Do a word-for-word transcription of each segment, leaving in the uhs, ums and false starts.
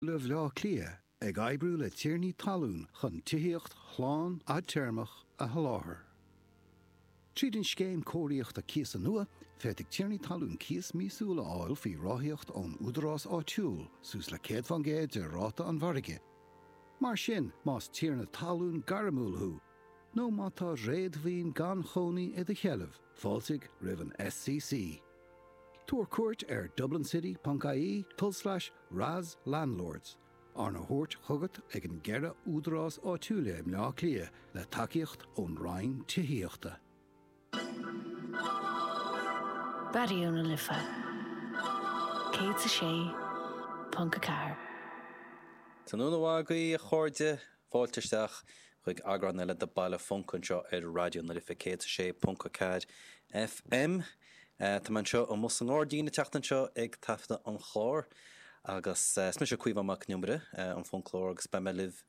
Bhaile Átha Cliath ag oibriú le tiarnaí talún chun tithíocht shlán fhadtéarmach a sholáthar. Tríd an scéim cóiríochta cíosa nua, féadfaidh tiarnaí talún cíos míosúil a fháil faoi ráthaíocht ón údarás áitiúil suas le céad faoin gcéad de ráta an mhargaidh. Mar sin, más tiarna talún gairmiúil thú, nó má tá réadmhaoin gan chónaí i do sheilbh, fáiltigh roimh an SCC. Tabhair cuairt ar dublincity.ie tulslais RAS Landlords, arna thabhairt chugat ag an gceithre údarás áitiúla i mBleá Cliath le tacaíocht ón Roinn Tithíochta. Raidió na Life céad a sé ponc a ceathair. Tráthnóna mhaith agaibh a chairde, fáilte isteach chuig eagrán eile de Baile Func anseo ar Raidió na Life céad a sé ponc a ceathair FM. Tá mé anseo amuigh sa ngairdín an tseachtain seo ag taifeadadh an chláir agus is mise Caoimhín Mac Con Iomaire, an Funclóir agus beidh mé libh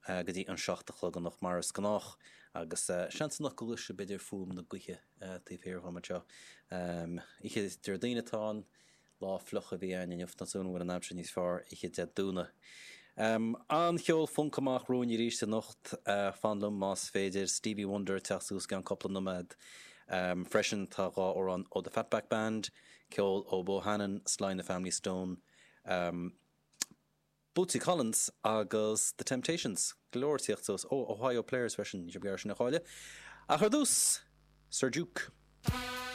go dtí an seacht a chlog anocht mar is gnách agus seans anocht go gcloisfidh b'fhéidir fuaim na gaoithe taobh thiar dhom anseo. Oíche Déardaoin atá ann, lá fliuch a bhí ann inniu, tá súil agam go bhfuil an aimsir níos fearr oíche Dé Domhnaigh. An-cheol func amach romhainn arís anocht, fan liom más féidir, Stevie Wonder ag teacht suas i gceann cúpla nóiméad. Freisin tá dhá amhrán ó The Fatback Band, ceol ó Bohannon, Sly and the Family Stone, Bootsy Collins agus The Temptations. Go leor ag tíocht suas. Ó, Ohio Players freisin, ní raibh sin a chailleadh. Ach ar dtús, Sir Duke.